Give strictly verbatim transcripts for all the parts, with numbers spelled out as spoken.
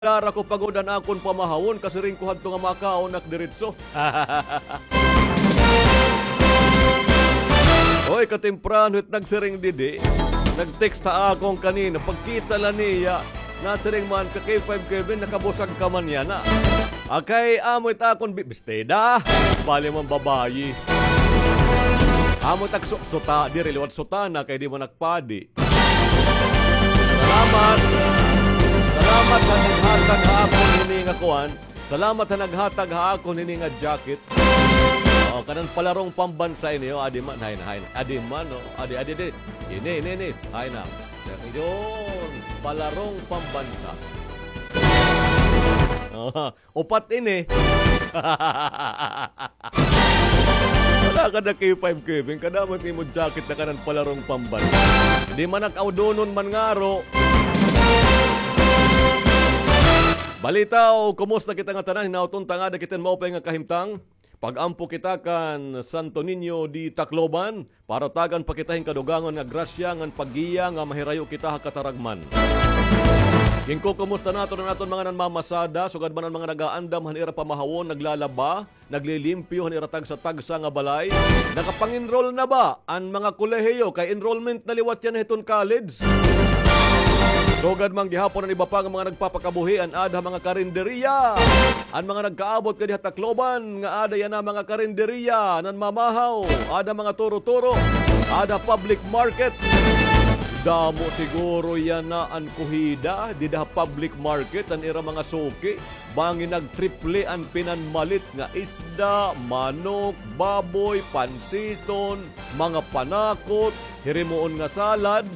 Dara ko pa gud an akon pamahawon, kasiring ko hadto nga makaon ak diretso. Oy, katemprano it nagsiring didi. Nag-text ha akon kanina, pagkita la niya, nasiring man, ka K five Kevin, nakabusag ka man yana. Akay, amo it akon bi-, bestida. Bali man babayi. Amo it ak su-, suta, diri liwat sutana, kay di man ak padi. Salamat. Salamat ha naghatag ha akon hini nga kuan. Salamat ha naghatag ha akon hini nga jacket. O, kanan palarong pambansa ini, o, adi man, hay na, hay na. Adi man, o, adi, adi, adi. Ini, ini, ini. Hay na. Yun, palarong pambansa. O, Upat ini. Wala ka na K five Kevin, kadamo it imo jacket na kanan palarong pamban. Di man ak awdonon man ngaro. Balitaw, kumusta kita nga tanan? Hinaot unta nga ada kita hin maupay nga kahimtang. Pag-ampo kita kan Santo Niño de Tacloban, para tagan pa kita hin kadugangon nga grasya ngan paggiya nga mahirayo kita ha kataragman. Ginkukumusta naton an aton mga nanmamasada, sugad man an mga nagaandam han ira pamahawon, naglalaba, naglilimpyo han ira tagsa-tagsa nga balay. Nakapang-enroll na ba an mga kolehiyo, kay enrollment na liwat yana hiton college? Sugad man gihapon an iba pa nga mga nagpapakabuhi, an aada ha mga karinderiya. An mga nagkaabot ngadi ha Tacloban nga aada yana mga karinderiya, nanmamahaw, aada mga turo-turo, aada public market. Damo siguro yana an kuhida dida ha public market, an ira mga suki. Bangin nagtriple an pinanmalit nga isda, manok, baboy, pansiton, mga panakot, hirimuon nga salad.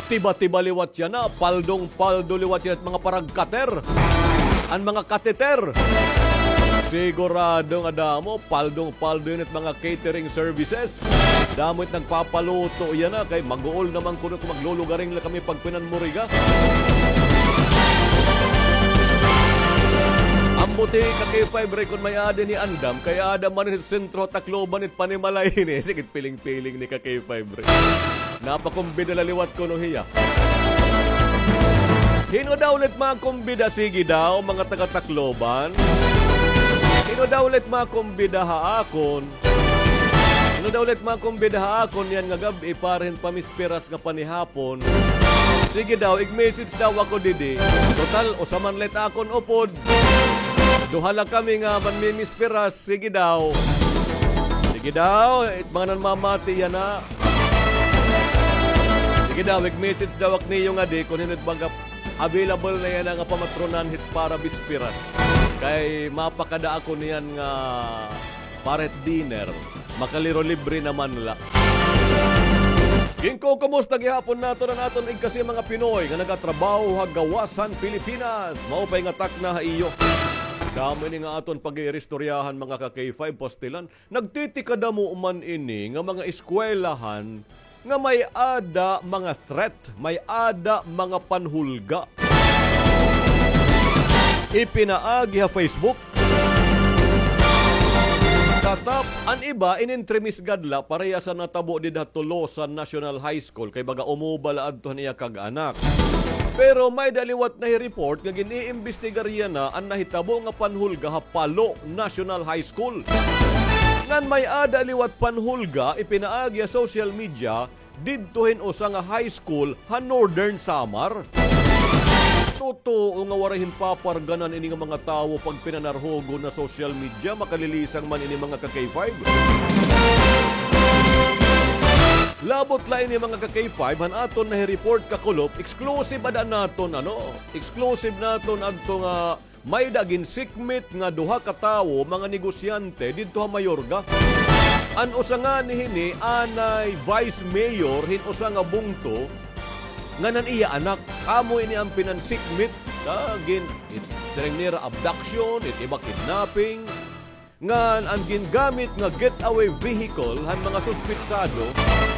Tiba-tiba liwat yana, paldong-paldo liwat yana it mga paragkater. An mga kateter. Sigurado nga damo, paldong-paldo yana it mga catering services. Damo it nagpapaluto yana, kay maguol naman kuno kon maglulugaring la kami pagpinanmuriga. Ambot hi ka K five Ray kon may-ada ini andam, kay aada man hit sentro ha Tacloban it panimalay ini. Sige it piling-piling ni ka K five Ray. Napakumbida la liwat kuno hiya. Hin-o daw la it makumbida, sige daw, mga taga-Tacloban? Hin-o daw la it makumbida ha akon? Hin-o daw la it makumbida ha akon yana nga gab-i para hin pamisperas nga panihapon? Sige daw, ig-message daw ako didi. Total, usa man la it akon upod. Duha la kami nga manmimisperas. Sige daw. Sige daw, it mga nanmamati yana. Sige daw, ig-message daw ak niyo ngadi kon hin-o it baga available na yana nga pamatronan hit para bisperas. Kay mapakada ako niyan nga para hit dinner. Makaliro libre naman la. Ginkukumusta gihapon naton an aton igkasi mga Pinoy nga nagatrabaho ha gawas han Pilipinas. Maupay nga takna ha iyo. Damo ini nga aton pag-iiristoryahan, mga ka K five, pastilan. Nagtitikadamo man ini nga mga eskwelahan nga may-ada mga threat, may-ada mga panhulga. Ipinaagi ha Facebook. Katap, an iba, inintremis gad la, parehas han natabo dida ha Tolosa National High School, kay baga umuba la adto han iya kag-anak. Pero may-ada liwat nahi-report nga gin-iimbestigar yana an nahitabo nga panhulga ha Palo National High School. Ngan may-ada liwat panhulga ipinaagi ha social media didto hin usa nga high school ha Northern Samar. Totoo nga waray hin paparganan ini nga mga tawo pagpinanarhugon ha social media, makalilisang man ini, mga ka K five. Labot la ini, mga ka K five, han aton nahi-report kakulop, exclusive ada naton, ano, exclusive naton adto nga may-ada ginsikmit nga duha ka tawo, mga negosyante didto ha Mayorga. An usa ngani hini anay vice mayor hin usa nga bungto ngan an iya anak. Amo ini an pinansikmit, ah, gin-, it-, siring nira abduction, it iba kidnapping. Ngan an gingamit nga getaway vehicle han mga suspetsado,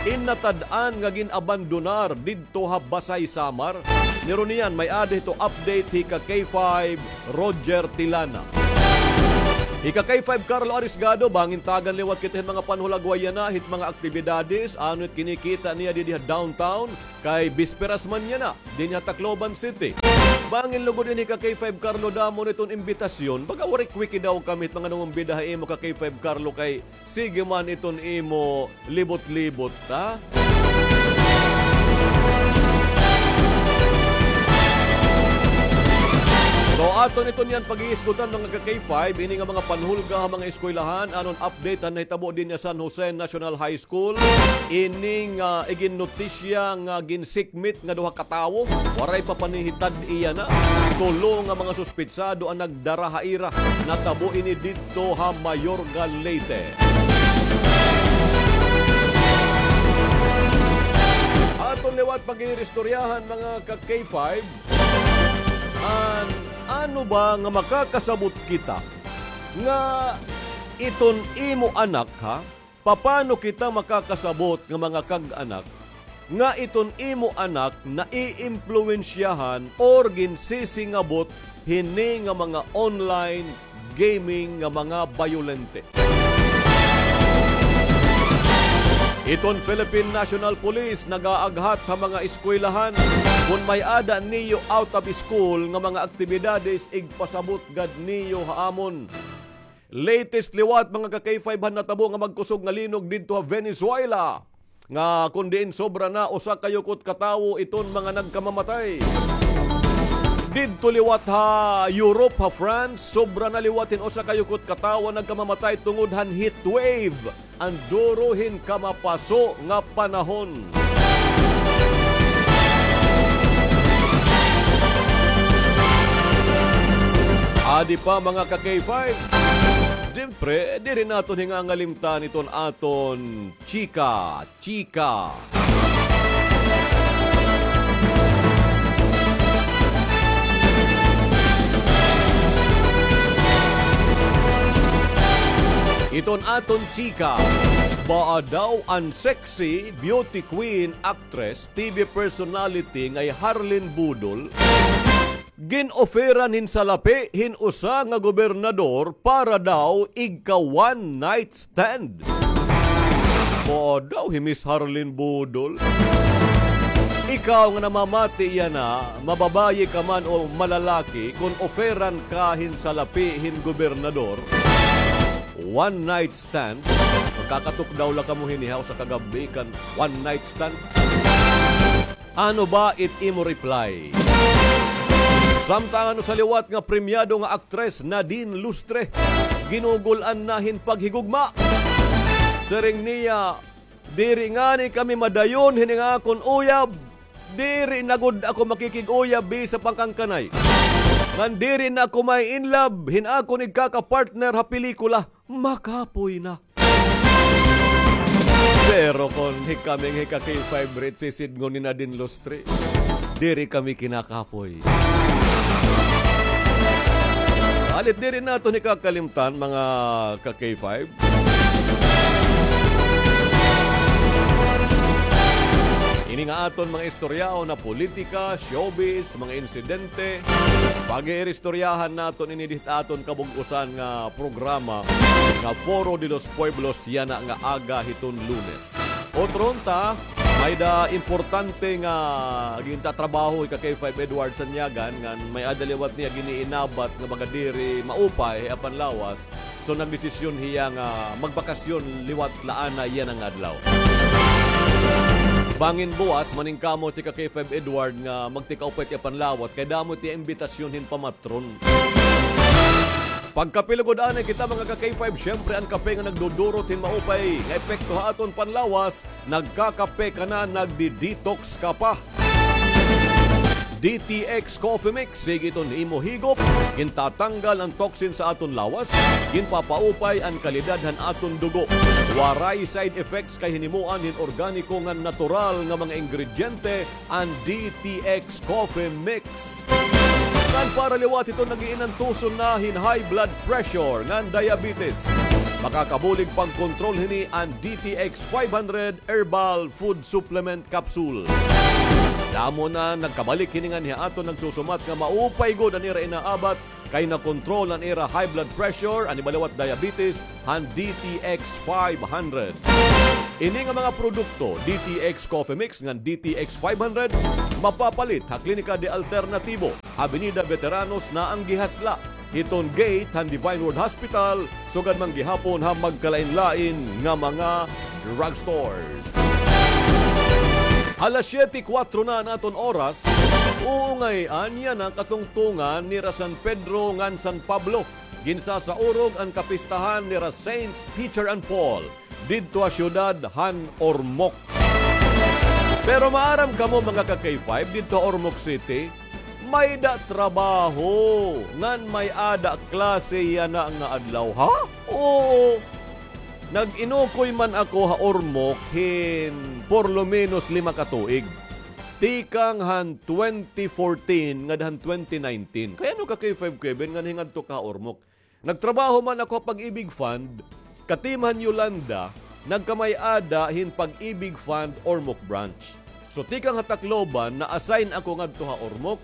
innatad-an nga gin-abandonar didto ha Basay, Samar. Niruniyan, may-ada hito update hi ka K five, Roger Tilana. Hika K five Carlo Arisgado, bangin tagan liwat kita hin mga panhulagway yana, hit mga aktibidades, ano it kinikita niya didi ha downtown, kay bisperas man yana dinhi ha Tacloban City. Bangin lugod ini, hika K five Carlo, damo na iton imbitasyon. Baga waray kwiki daw kami hit mga nangumbida ha imo, hika K five Carlo, kay sige man iton imo libot-libot, ha? So, aton iton yana pag-iisgutan, mga ka-K five, ini nga mga panhulga ha mga eskwelahan, anon update han nahitabo dinhi ha San Jose National High School. Ini nga iginnotisya nga ginsikmit nga duha ka tawo, waray pa panihitad-i yana. Tulo nga mga suspetsado an nagdara ha ira. Natabo ini didto ha Mayorga, Leyte. Aton liwat pag-iiristoryahan, mga ka-K five, an ano ba nga makakasabot kita nga iton imo anak, ha? Papano kita makakasabot nga mga kag-anak nga iton imo anak naiimpluwensyahan or ginsisingabot hini nga mga online gaming nga mga bayolente? Iton Philippine National Police nagaaghat ha mga eskwelahan. Kon may-ada niyo out of school nga mga aktibidades, igpasabot gad niyo ha amon. Latest liwat, mga ka-K five, han natabo nga magkusog nga linog didto ha Venezuela, nga kon diin sobra na usa ka yukot ka tawo iton mga nagkamamatay. Didto liwat ha Europe, ha France, sobra na liwat hin usa ka yukot ka tawo an nagkamamatay tungod han heat wave. An duro hin kamapaso nga panahon. Adi pa, mga ka-K five. Siyempre, diri naton hingangalimtan iton aton chika, chika. Iton aton chika, baa daw an sexy beauty queen, actress, T V personality nga hi Harlene Budol, gin-offeran hin salapi hin usa nga gobernador para daw igka one night stand. Mao daw hi Miss Harlene Budol. Ikaw nga namamati yana, mababayi ka man o malalaki, kon offeran ka hin salapi hin gobernador, one night stand, magkakatukdaw la kamo hini ha usa ka gab-i kan one night stand? Ano ba it imo reply? Samtang an usa liwat nga premyado nga aktres, Nadine Lustre, ginugul-an na hin paghigugma. Siring niya, "Diri ngani kami madayon hini nga akon uyab. Diri na gud ako makikig-uyab bisan pa kan kanay. Ngan diri na ako ma-in love hin akon igkaka-partner ha pelikula. Makapoy na." Pero kon hi kami nga hika-K five, Ritzy, sidngon ni Nadine Lustre, diri kami kinakapoy. Alit, diri naton hikakalimtan, mga ka-K five, ini nga aton mga istoryahon ha politika, showbiz, mga insidente. Pag-iiristoryahan naton ini dida ha aton kabug-osan nga programa nga Foro de los Pueblos yana nga aga hiton Lunes. Utro unta, may-ada importante nga gintatrabaho hika-K five Edward Sanyagan, ngan may-ada liwat niya gin-iinabat nga baga diri maupay ha iya panlawas. So, nagdesisyon hiya nga magbakasyon liwat la anay yana nga adlaw. Bangin buwas, maningkamot hika-K five Edward nga magtikaupay ha iya panlawas, kay damo it iya imbitasyon hin pamatron. Pagkape lugod anay kita, mga ka-K five, siyempre an kape nga nagdudurot hin maupay nga epekto ha aton panlawas, nagkakape ka na, nagdi-detox ka pa. D T X Coffee Mix, sige iton imo higop, gintatanggal an toxin sa aton lawas, ginpapaupay an kalidad han aton dugo. Waray side effects kay hinimoan hin organiko ngan natural nga mga ingrediente, an D T X Coffee Mix. Ngan para liwat hiton nag-iinantuson na hin high blood pressure ngan diabetes, makakabulig pagkontrol hini an D T X five hundred Herbal Food Supplement Capsule. Damo na nagkabalik hini nganhi ha aton nagsusumat nga maupay gud an ira inaabat kay nakontrol an ira high blood pressure, an iba liwat diabetes, han D T X five hundred. Ini nga mga produkto, D T X Coffee Mix ngan D T X five hundred, mapapalit ha Klinika de Alternativo, Avenida Veteranos na an gihasla hiton gate han Divine Word Hospital, sugad man gihapon ha magkalain-lain nga mga drugstores. Alas siyete kuwatro na an aton oras. Uungay-an yana katungtungan nira San Pedro ngan San Pablo. Ginsasaurog an kapistahan nira Saints Peter and Paul didto ha siyudad han Ormoc. Pero maaram kamo, mga ka-K five, didto ha Ormoc City, may-ada trabaho ngan may-ada klase yana nga adlaw, ha? Oo. Nag-inukoy man ako ha Ormoc hin por lo menos lima ka tuig. Tikang han twenty fourteen ngada han twenty nineteen. Kay ano ka, K five Kevin, ngan hingadto ka ha Ormoc? Nagtrabaho man ako ha Pag-ibig Fund, ka-team han Yolanda, nagkamay-ada hin Pag-ibig Fund Ormoc Branch. So, tikang ha Tacloban, na-assign ako ngadto ha Ormoc.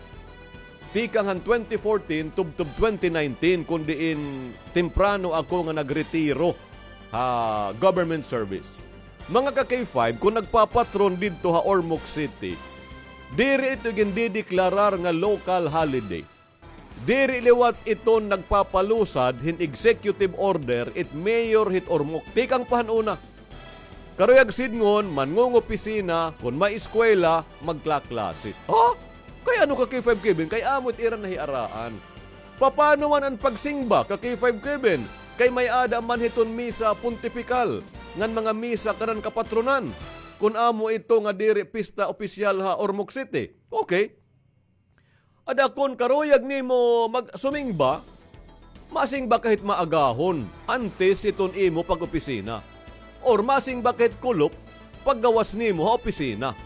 Tikang han twenty fourteen tubtob twenty nineteen, kon diin temprano ako nga nagretiro ha government service. Mga ka-K five, kon nagpapatron didto ha Ormoc City, diri ito gindideklarar nga local holiday. Diri liwat iton nagpapalusad hin executive order it mayor hit Ormoc. Tikang pa han una. Karuyag sidngon, manngungopisina, kon may eskwela, magklaklase. Ha? Kay ano ka, K five Kevin? Kay amo it ira nahiaraan. Papano man an pagsingba ka, K five Kevin? Kay may-ada man hiton misa pontipikal, ngan mga misa kanan kapatronan, kon amo ito nga diri pista opisyal ha Ormoc City. Okay. Ada kon karuyag nimo mag-, sumingba, masingba ka hit maagahon, antes hiton imo pag-opisina. Or masingba ka hit kulop, paggawas nimo ha opisina.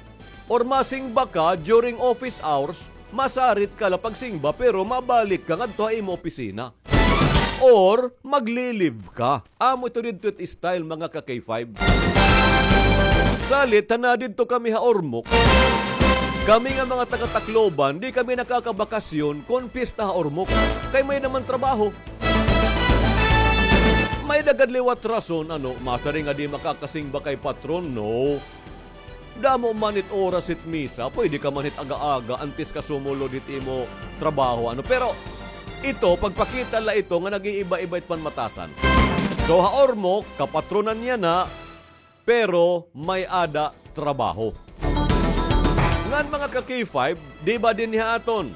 Or masingba ka during office hours, masarit ka la pagsingba, pero mabalik ka ngadto ha imo opisina. Or magli-leave ka. Amo ito didto it style, mga ka-K five. Salit, han nadidto kami ha Ormoc, kami nga mga taga-Tacloban, di kami nakakabakasyon kon piyesta ha Ormoc. Kay may-ada man trabaho. May-ada gad liwat rason, ano, masiring nga di makakasingba kay patron, no. Damo man it oras hit misa, pwede ka man hit aga-aga antes ka sumulod hit imo trabaho, ano. Pero ito, pagpakita la ito nga nag-iiba-iba it panmatasan. So, ha Ormoc, kapatronan yana, pero may-ada trabaho. Ngan, mga ka-K five, di ba dinhi ha aton,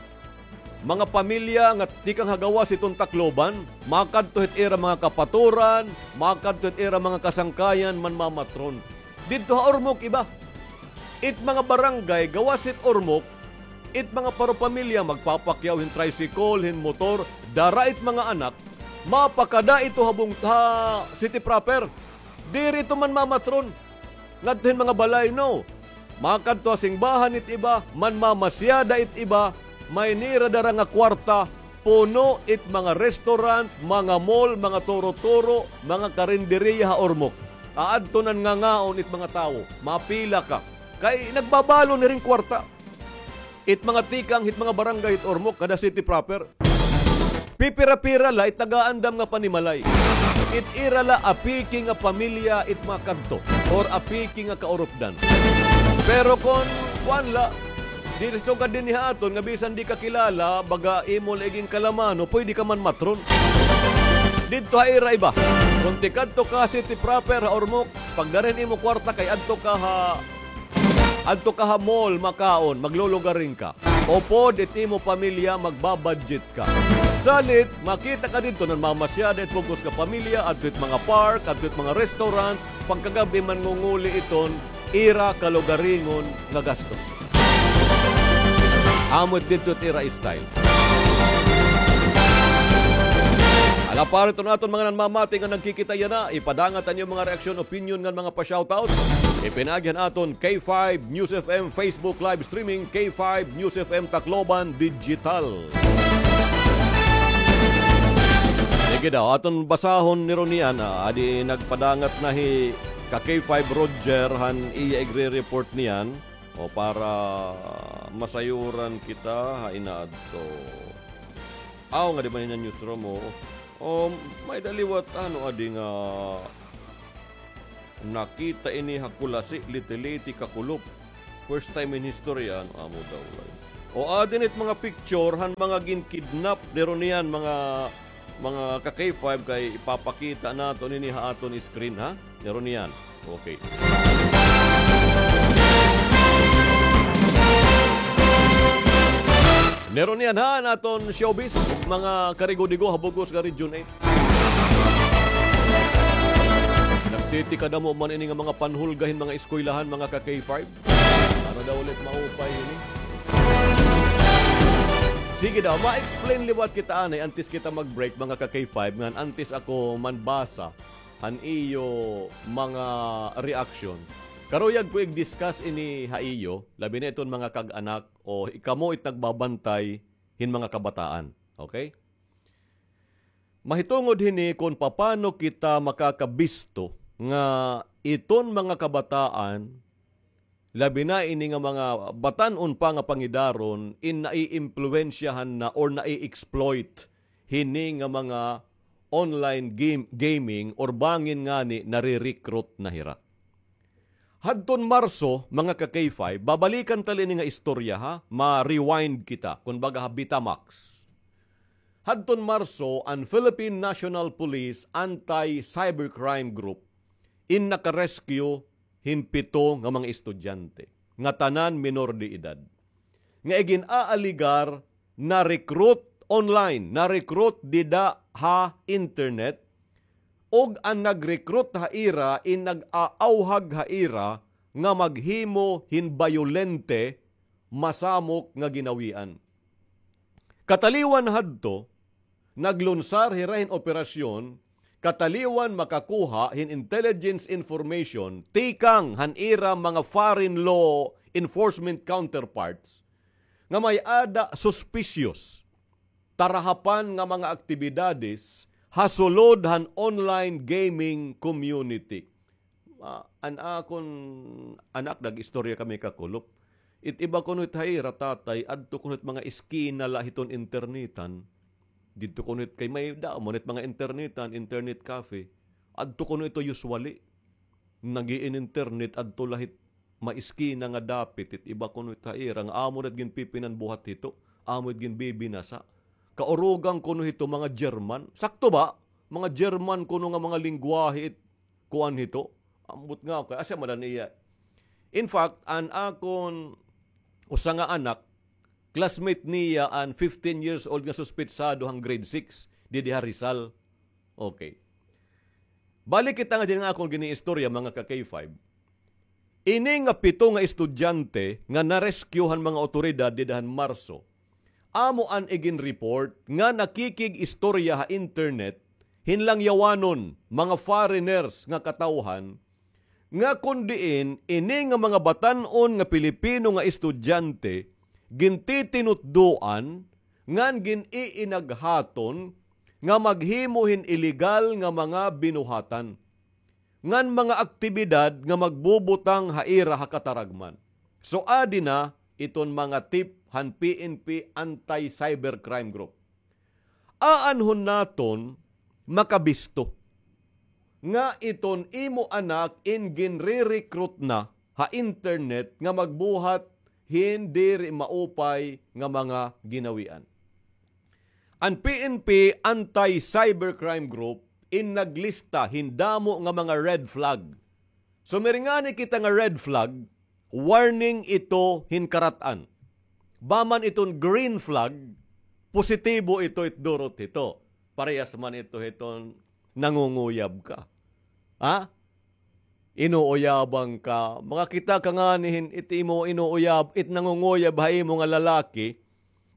mga pamilya nga tikang ha gawas hiton Tacloban, makadto hit ira mga kapaturan, makadto hit ira mga kasangkayan, manmamatron. Didto ha Ormoc iba. It mga barangay gawas hit Ormoc, it mga paropamilya magpapakyaw hin tricycle, hin motor, dara it mga anak, mapakada ito ha bung-, ha city proper. Diri ito manmamatron ngadto hin mga balay, no. Makadto ha singbahan it iba, manmamasyada it iba, may nira dara nga kwarta, puno it mga restaurant, mga mall, mga turo-turo, mga karinderiya ha Ormoc. Aadto nan ngangaon it mga tawo, mapila ka. Kay nagbabalon hiring kwarta. It mga tikang hit mga barangay hit Ormoc, kada city proper, pipira-pira la it nagaandam nga panimalay. It ira la apiki nga pamilya it makadto, or apiki nga kaurupdan. Pero kon kuan la, diri sugad dinhi ha aton nga bisan di ka kilala, baga imo la igin kalamano, pwede ka manmatron. Didto ha ira iba, kon tikadto ka city proper ha Ormoc, pagdara hin imo kwarta kay adto ka ha Adto ka ha mall makaon, maglulugaring ka. Upod it imo pamilya, magbabudget ka. Salit, makita ka didto nanmamasyada it bug-os nga pamilya, adto it mga park, adto it mga restaurant, pagkagab-i mangunguli iton ira kalugaringon nga gastos. Amo it didto it ira style. Ala, para iton aton mga nanmamati nga nagkikita yana, ipadangat an iyo mga reaksyon, opinyon ngan mga pa-shoutout. Ipinaagi han aton K five News F M Facebook live streaming, K five News F M Tacloban Digital. Sige daw, aton basahon ni Ronian, ah, adi nagpadangat na hi ka K five Roger han iya igre-report niyan. O para Masayuran kita ha inaadto. Aw, nga di man ina newsroom, oo. O, may-ada liwat, ano, adi nga nakita ini ha Culasi, Leyte, Leyte, kakulop. First time in history, ano, amo daw, ay. O, adi na it mga picture han mga gin-kidnap, niro niyan, mga mga ka-K five, kay ipapakita naton ini ha aton screen, ha? Meron niyan. Okay. Meron niyan, ha, an aton showbiz, mga karigo-digo ha bug-os nga Region eight. Nagtitikadamo man ini nga mga panhulga hin mga eskwelahan, mga ka-K five. Para daw ulit maupay ini. Sige daw, ma-explain liwat kita anay antes kita mag-break, mga ka-K five, ngan antes ako manbasa han iyo mga reaction. Karuyag ko ig-discuss ini ha iyo, labi na iton mga kag-anak o kamo it nagbabantay hin mga kabataan. Okay? Mahitungod hini kon papano kita makakabisto nga iton mga kabataan, labi na ini nga mga batan-on pa nga pangidaron, in naiimpluwensyahan na or nai-exploit hini nga mga online game, gaming or bangin ngani nare-recruit na hira. Hadton Marso, mga ka-K five, babalikan ta la ini nga istorya, ha, ma-rewind kita, kun baga ha Betamax. Hadton Marso, an Philippine National Police Anti-Cybercrime Group in naka-rescue hin pito nga mga estudyante, nga tanan minor de edad, nga igin-aaligar na-recruit online, na-recruit dida ha internet, ug an nag-recruit ha ira in nag-aawhag ha ira nga maghimo hin bayolente, masamok nga ginawian. Kataliwan hadto, naglunsar hira hin operasyon kataliwan makakuha hin intelligence information tikang han ira mga foreign law enforcement counterparts nga may-ada suspicious, tarahapan nga mga aktibidades ha sulod han online gaming community. Ah, an akon anak, nag-istorya kami kakulop. It iba kuno it ha ira, tatay, adto kuno it mga eskina la hiton internetan. Didto kuno it kay may damo it mga internetan, internet cafe. Adto kuno ito usually. Nag-i-internet adto la hit may eskina nga dapit, it iba kuno it ha ira nga amo na it ginpipinanbuhat hito, amo it ginbibinasa. Kaurugan kuno hito mga German. Sakto ba? Mga German kuno nga mga lengguwahe it kuan hito. Ambot nga ako, asya man an iya. In fact, an akon usa nga anak, classmate niya an fifteen years old nga suspetsado han grade six, didi ha Rizal. Okay. Balik kita nga dinhi nga akon giniistorya, mga ka-K five. Ini nga pito nga estudyante nga na-rescue han mga awtoridad dida han Marso, amo an igin-report nga nakikig-istorya ha internet hin langyawanon, mga foreigners nga katawhan, nga kon diin ini nga mga batan-on nga Pilipino nga estudyante gintitinutdoan ngan gin-iinaghaton nga maghimo hin ilegal nga mga binuhatan ngan mga aktibidad nga magbubutang ha ira ha kataragman. So, adi na iton mga tip han P N P Anti-Cybercrime Group. Aanhon naton makabisto nga iton imo anak in ginre-recruit na ha internet nga magbuhat hin diri maupay nga mga ginawian. An P N P Anti-Cybercrime Group in naglista hin damo nga mga red flag. So, may ngani kita nga red flag, warning ito hin karat-an. Baman iton green flag, positibo ito it durot hito. Parehas man ito hiton nangunguyab ka. Ha? Inuuyaban ka. Makakita ka ngani hin it imo inuuyab, it nangunguyab ha imo nga lalaki,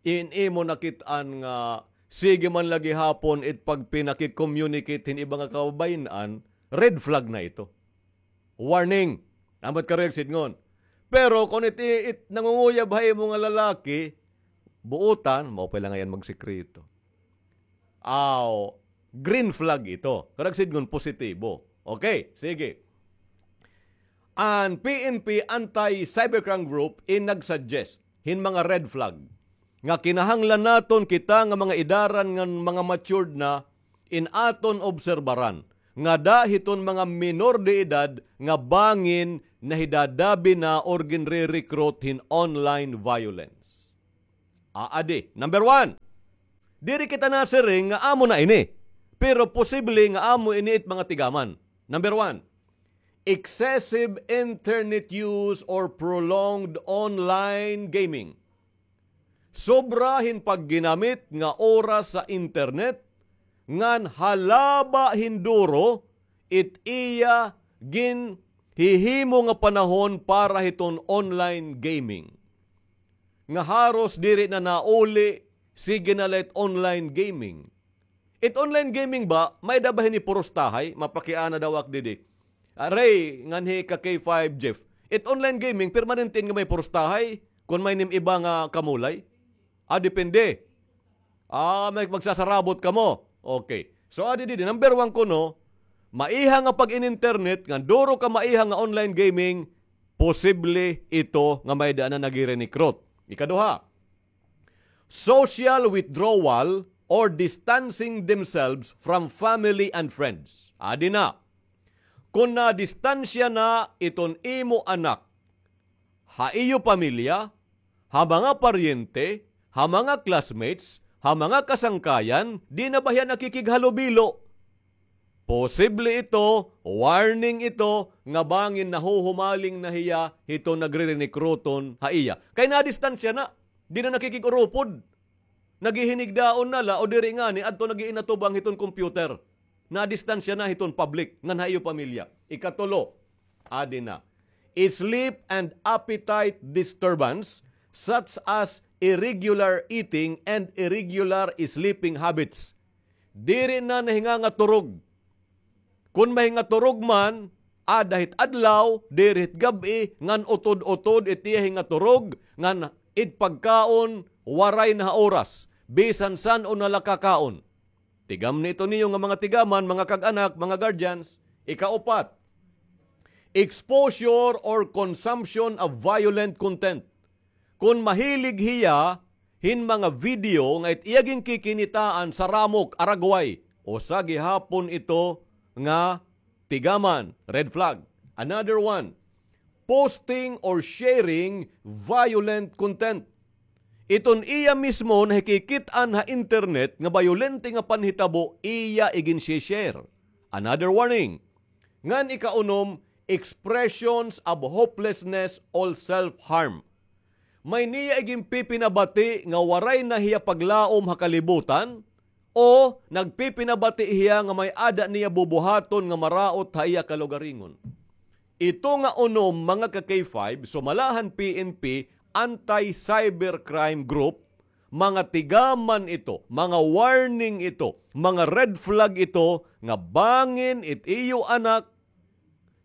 in imo nakit-an nga sige man la gihapon it pagpinaki-communicate hin iba nga kababayen-an, red flag na ito. Warning. Ambot karuyag sidngon. Pero kon it, it nangunguyab ha imo nga lalaki, buotan, maupay la ngay-an magsikreto. Aw, green flag ito. Karuyag sidngon positibo. Okay, sige. An P N P Anti-Cybercrime Group in nag-suggest hin mga red flag nga kinahanglan naton kita nga mga idaran ngan mga matured na in aton obserbaran, ngada hiton mga minor de edad nga bangin nahidadabi na or ginre-recruit hin online violence. Aadi, number one. Diri kita nasiring nga amo na ini, pero posible nga amo ini it mga tigaman. Number one, excessive internet use or prolonged online gaming. Sobra hin pagginamit nga oras sa internet, ngan halaba hin duro it iya ginhihimo nga panahon para hiton online gaming. Nga haros diri na nauli, sige na la it online gaming. It online gaming ba, may-ada ba hini purustahay? Mapakiana daw ak didi. Aray, nganhi ka K five, Jeff. It online gaming, permanente nga may purustahay? Kon may nim iba nga kamulay? Ah, depende. Ah, may magsasarabot kamo. Okay. So, adi didi, number one kuno, maiha nga pag-in-internet, nga duro ka maiha nga online gaming, posible ito nga may daan na nagire-recruit. Ikaduha, social withdrawal or distancing themselves from family and friends. Adi na, kon nadistansya na iton imo anak ha iyo pamilya, ha mga paryente, ha mga classmates, ha mga kasangkayan, di na ba hiya nakikighalubilo? Posible ito, warning ito, nga bangin nahuhumaling na hiya hiton nagre-recruiton ha iya. Kay nadistansya na, di na nakikig-urupod. Naghihinigdaon na la o diri ngani, adto nag-iinatubang hiton computer. Nadistansya na hiton public, ngan ha iyo pamilya. Ikatulo, adi na. Sleep and appetite disturbance, such as irregular eating and irregular sleeping habits. Diri na nahingangaturog. Kon mahingaturog man, ada hit adlaw, diri hit gab-i, ngan utod-utod it iya hingaturog, ngan it pagkaon, waray na ha oras, bisan san-o na la kakaon. Tigamni ito niyo nga mga tigaman, mga kag-anak, mga guardians. Ikaupat, exposure or consumption of violent content. Kon mahilig hiya hin mga video nga it iya ginkikinitaan sa ramok, aragway, usa gihapon ito nga tigaman, red flag. Another one, posting or sharing violent content. Iton iya mismo nahikikit-an ha internet nga bayolente nga panhitabo, iya iginshi-share. Another warning. Ngan ikaunom, expressions of hopelessness or self-harm. May niya iginpipinabati nga waray na hiya paglaom ha kalibutan, o nagpipinabati hiya nga may-ada niya bubuhaton nga maraot ha iya kalugaringon. Ito nga unom, mga ka-K five, sumala han P N P, anti-cybercrime group, mga tigaman ito, mga warning ito, mga red flag ito, nga bangin it iyo anak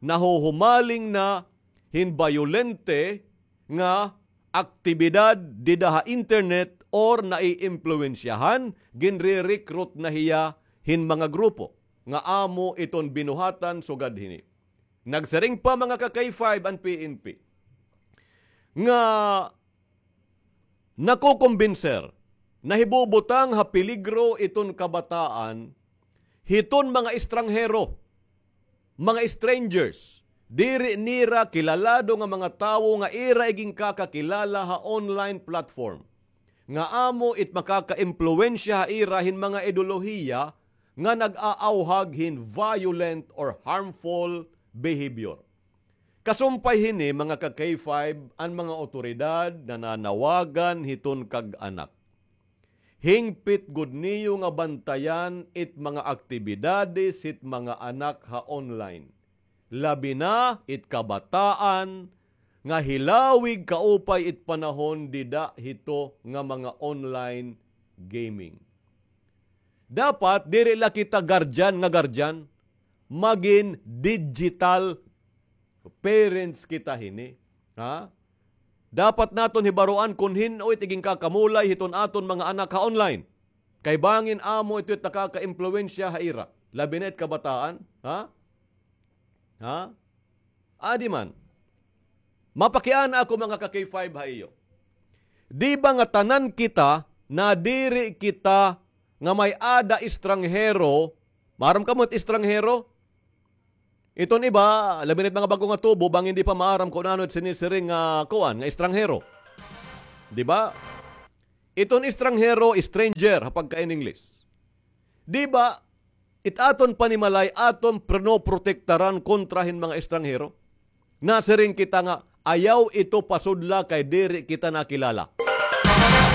nahuhumaling na hin bayolente nga aktibidad dida ha internet or naiimpluwensyahan, ginre-recruit na hiya hin mga grupo nga amo iton binuhatan sugad hini. Nagsiring pa, mga ka-K five, an P N P nga nakukumbinser, nahibubutang ha peligro iton kabataan hiton mga estranghero, mga strangers, diri nira kilalado nga mga tawo nga ira iginkakakilala ha online platform, nga amo it makakaimpluwensya ha ira hin mga ideolohiya nga nag-aawhag hin violent or harmful behavior. Kasumpay hini, mga ka-K five, an mga awtoridad nananawagan hiton kag-anak. Hingpit gud niyo nga bantayan it mga aktibidades hit mga anak ha online. Labi na it kabataan nga hilawig kaupay it panahon dida hito nga mga online gaming. Dapat diri la kita guardian nga guardian, magin digital parents kita hini. Ha? Dapat naton hibaroan kon hin-o it iginkakamulay hiton aton mga anak ha online. Kay bangin amo ito it nakakaimpluwensya ha ira. Labi na it kabataan. Ha? Ha? Adi man. Mapakiana ako, mga ka-K five, ha iyo. Di ba nga tanan kita, nadiri kita nga may-ada estranghero, maaram kamo hit estranghero? Iton iba, labi na it mga bag-o nga tubo, bangin di pa maaram kon ano it sinisiring nga kuan, nga estranghero. Di ba? Iton estranghero, stranger, ha pagka-in English. Di ba, it aton panimalay, aton pinoprotektaran kontra hin mga estranghero? Nasiring kita nga, ayaw ito pasudla kay diri kita nakilala.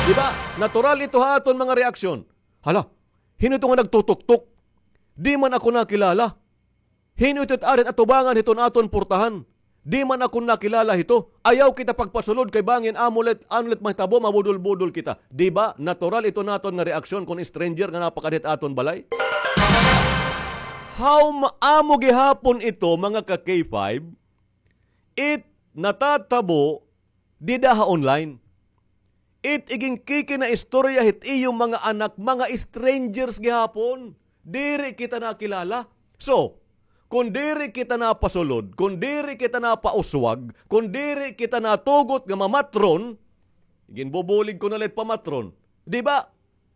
Di ba? Natural ito ha aton mga reaksyon. Hala, hin-o ito nga nagtutuktok? Di man ako nakilala. Hin-o ito it ari hit atubangan hiton aton purtahan? Di man ako nakilala hito. Ayaw kita pagpasulod kay bangin amo la it, ano la it mahitabo, mabudol-budol kita. Di ba? Natural ito naton nga reaksyon kon stranger nga napakadi hit aton balay. How ma-, amo gihapon ito, mga ka-K five, it natatabo dida ha online. It iginkikinaistorya hit iyo mga anak, mga strangers gihapon. Diri kita nakilala. So, kon diri kita napasulod, kon diri kita napauswag, kon diri kita natugot nga mamatron, ginbubulig ko na la it pamatron. Di ba?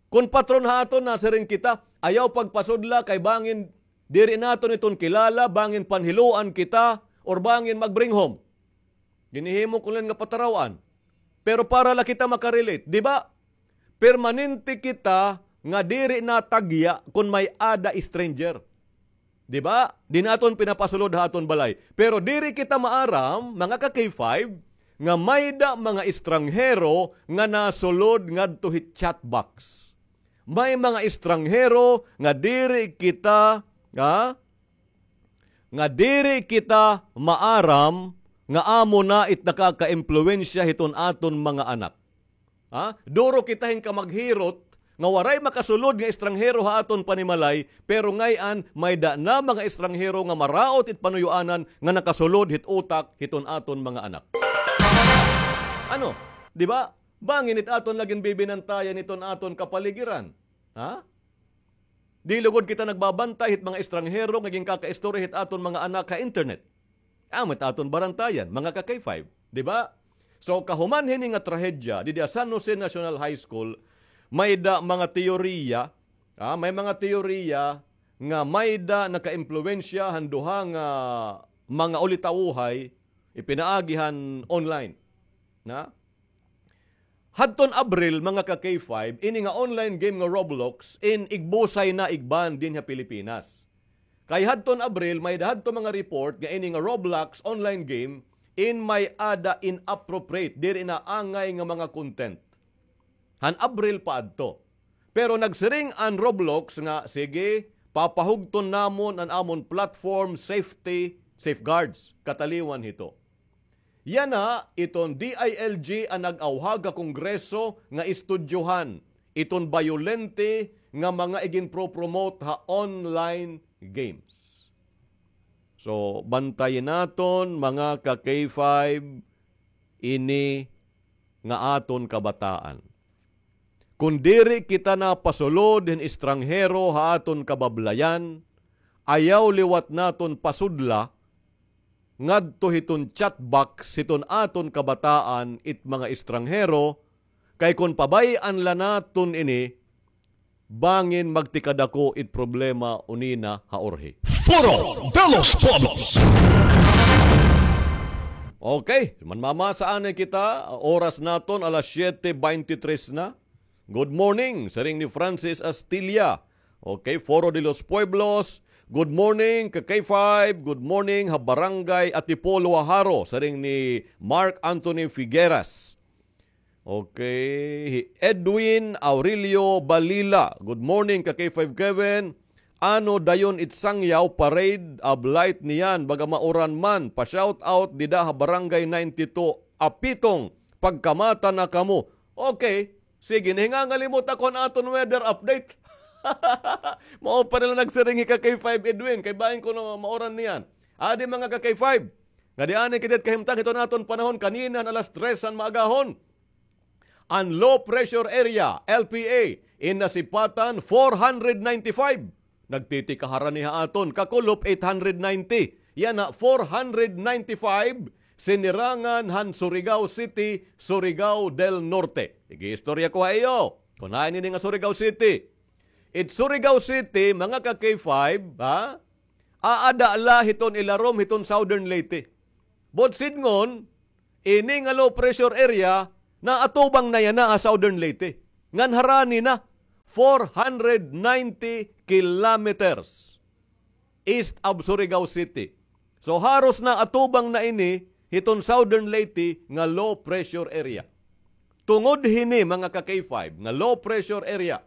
Kon patron ha aton, nasiring kita, ayaw pagpasudla kay bangin diri naton iton kilala, bangin panhiluan kita, or bangin magbring home. Ginhihimo ko la nga pataraw-an. Pero para la kita makarelate, di ba? Permanente kita nga diri natagya kon may-ada stranger. Di ba? Di naton pinapasulod ha aton balay. Pero diri kita maaram, mga ka-K five, nga mayda mga estranghero nga nasulod ngadto hit chat box. May mga estranghero nga diri kita, ha? Nga diri kita maaram nga amo na it nakakaimpluwensya hiton aton mga anak. Ha? Duro kita hin kamaghirot nga waray makasulod nga estranghero ha aton panimalay, pero ngay-an mayda na mga estranghero nga maraot it panuyoanan nga nakasulod hit utak hiton aton mga anak. Ano? Di ba? Bangin it aton la ginbibinantayan hiton aton kapaligiran. Ha? Di lugod kita nagbabantay hit mga estranghero nga ginkakaistorya hit aton mga anak ha internet. Amo it aton barantayan, mga ka-K five, di ba? So, kahuman hini nga trahedya, didi ha San Jose National High School, mayda mga teorya, ah, may mga teorya nga mayda nakaimpluwensya han duha nga mga ulitawhay ipinaagi han online. Na? Hadton Abril, mga ka-K five, ini nga online game nga Roblox, in igbusay na igban dinhi ha Pilipinas. Kay hadton Abril, may-ada hadto mga report nga ini nga Roblox online game, in may-ada inappropriate, diri na angay nga mga content. Han Abril pa adto. Pero nagsiring an Roblox nga, sige, papahugton namon an amon platform safety safeguards, kataliwan hito. Yana iton D I L G an nag-awhag ha Kongreso nga estudyohan iton bayolente nga mga iginpro-promote ha online games. So, bantayi naton, mga ka-K five, ini nga aton kabataan. Kon diri kita napasulod hin estranghero ha aton kabablayan, ayaw liwat naton pasudla ngadto hiton chat box hiton aton kabataan it mga estranghero, kay kon pabay-an la naton ini, bangin magtikadako it problema unina ha urhi. Foro de los Pueblos. Okay, manmamasa anay kita, oras naton alas siyete beintitres na. Good morning, siring ni Francis Astilla. Okay, Foro de los Pueblos. Good morning, ka K five. Good morning, ha Barangay Atipolo, Jaro, siring ni Mark Anthony Figueras. Okay, hi Edwin Aurelio Balila. Good morning, ka K five Kevin. Ano dayon it Sangyaw Parade of Light niyan, baga mauran man, pa-shout out dida ha Barangay ninety-two, Apitong, pagkamata na kamo. Okay, sige, nahingangalimot ako an aton weather update. Mao pa nila nagsiring hi ka K five Edwin, kay bangin kuno mauran niyan. Adi mga ka K five, nga di anay kita kahimtang hiton aton panahon kanina han alas tres han maagahon. An low pressure area, L P A, in nasipatan, four hundred ninety-five. Nagtitikaharan ni ha aton, kakulop, eight hundred ninety. Yana, four hundred ninety-five, sinirangan han Surigao City, Surigao del Norte. Igiistorya ko ha iyo. Kun hain ini nga Surigao City. It Surigao City, mga ka K five, ha? Aada la hiton ilarom hiton Southern Leyte. Buot sidngon, ini nga low pressure area, naatubang na yana ha Southern Leyte. Ngan harani na, four hundred ninety kilometers east of Surigao City. So, haros naatubang na ini hiton Southern Leyte nga low pressure area. Tungod hini, mga ka K five, nga low pressure area,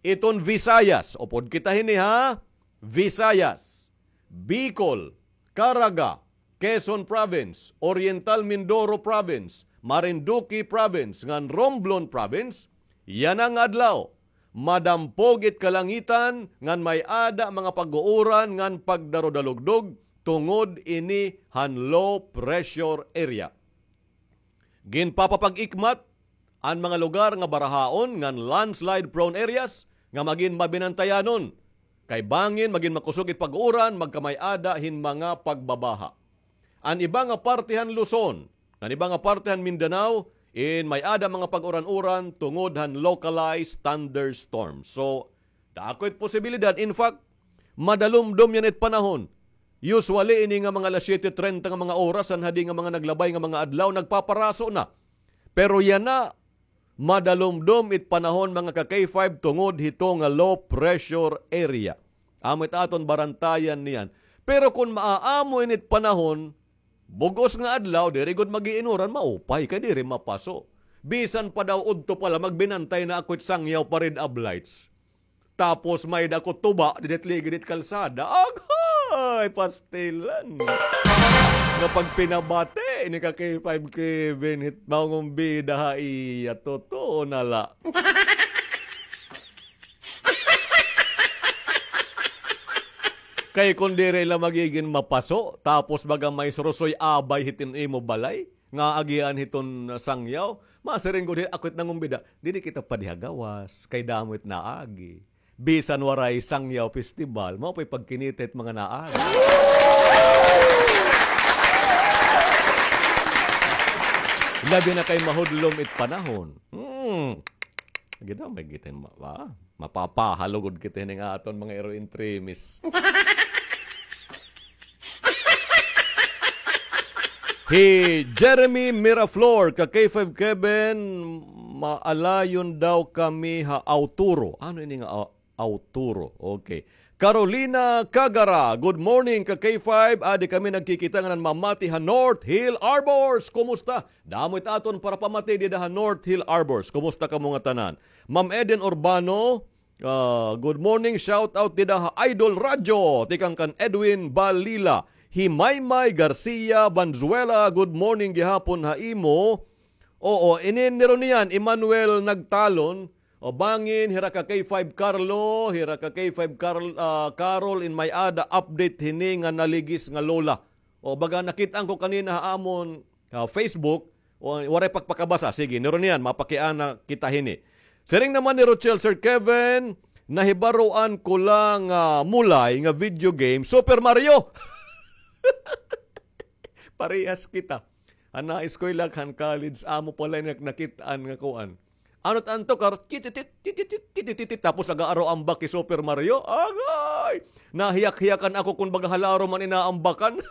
iton Visayas, upod kita hini ha, Visayas, Bicol, Caraga, Quezon Province, Oriental Mindoro Province, Marinduque Province, ngan Romblon Province, yana nga adlaw, madampog it kalangitan ngan may-ada mga pag-uuran ngan pagdarudalugdog tungod ini han low pressure area. Ginpapapag-ikmat an mga lugar nga barahaon ngan landslide prone areas nga magin mabinantayanon. Kay bangin magin makusog it pag-uran, magkamay-ada hin mga pagbabaha. An iba nga parte han Luzon, an iba nga parte han Mindanao, in may-ada mga pag-uran-uran tungod han localized thunderstorms. So, dako it posibilidad. In fact, madalumdom yana it panahon. Usually, ini nga mga alas siyete treinta nga mga oras, an hadi nga mga naglabay nga mga adlaw, nagpaparaso na. Pero yana, madalumdom it panahon, mga ka K five, tungod hito nga low pressure area. Amo it aton barantayan niyan. Pero kun maaamo ini it panahon, bug-os nga adlaw, diri gud mag-iinuran, maupay kay diri mapaso. Bisan pa daw udto pa la, magbinantay na ako it sangyaw pa red ablights. Tapos may-ada ko tuba, didit ligid it kalsada. Aghay, pastilan. Nga pagpinabati ni ka K five Kevin, hit nangumbida ha iya, totoo na la. Kay kun diri la magigin mapaso, tapos baga may surusoy abay hitin imo balay, nga agian hiton sangyaw, masiring gud hi-, ako it nangumbida, didi kita pa diha gawas, kay damo it naagi. Bisan waray sangyaw festival, mao pa'y pagkinita it mga naagi. Labi na kay mahudlom it panahon. Hmm. Gidamay kita ma-, ba? Mapapahalugod kita hini nga aton mga iro-intremis. Hi Jeremy Miraflor, ka K five Kevin, maalayon daw kami ha Auturo. Ano ini nga, ah, Auturo? Okay. Carolina Cagara, good morning, ka K five. Adi kami nagkikita nga nanmamati ha North Hill Arbors. Kumusta? Damo it aton para pamati dida ha North Hill Arbors. Kumusta kamo ngatanan? Ma'am Eden Urbano, ah, good morning. Shout out dida ha Idol Radyo. Tikang kan Edwin Balila. Hi Maymay Garcia Banzuela, good morning gihapon ha imo. Oo, ini ni Ronian, Emmanuel Nagtalon. O bangin, hira ka K five Carlo, hira ka K five Carl-, ah, Carol, in may-ada update hini nga naligis nga lola. O baga nakit-an ko kanina ha amon, ah, Facebook, o, waray pagpakabasa. Sige, ni Ronian, mapakiana kita hini. Siring naman ni Rochelle, Sir Kevin, nahibaroan ko lang, ah, mulay nga video game, Super Mario. Parehas kita. An naeskwela kan college, amo pala nak-, nakit-an nga kuan. Ano tanto kar, tititit, tititit, tititit, tapos nag-aaro ambak hi Super Mario. Agay! Nahiyak-hiyakan ako kun baga halaro man inaambakan.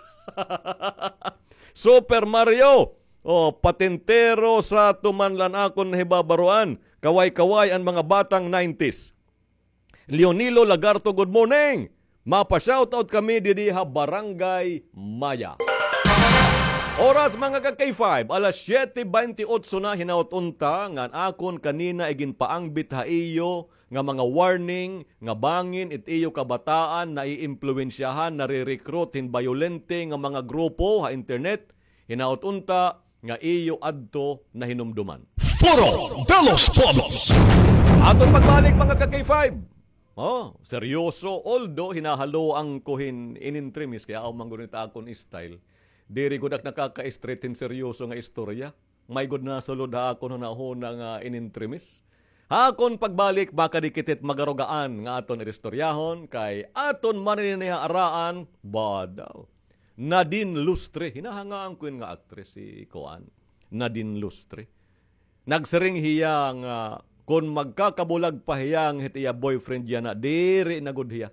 Super Mario! O, patintero sa tuman lan akon nahibabaroan. Kaway-kaway an mga batang nineties. Leonilo Lagarto, good morning. Mapa-shoutout kami didi ha Barangay Maya. Oras, mga ka K five, alas siyete baynte otso na, hinaot unta ngan akon kanina iginpaangbit ha iyo nga mga warning nga bangin it iyo kabataan naiimpluwensyahan, nare-recruit hin bayolente nga mga grupo ha internet. Hinaot unta nga iyo adto nahinumduman. Foro de los Pueblos. Aton pagbalik, mga ka K five. Oh, seryoso, although hinahaloan ko hin inintremis, kay aw man gud it akon style. Diri gud ak nakaka-straight hin seryoso nga istorya. May gud nasulod ha akon hunahuna nga inintremis. Ha akon pagbalik, makadikit it magarugaan nga aton iristoryahon, kay aton man ini ha araan, ba daw. Nadine Lustre. Hinahangaan ko yun nga actress, si kuan, Nadine Lustre. Nagsiring hiya nga kon magkakabulag pa hiya nga hit iya boyfriend yana, diri na gud hiya.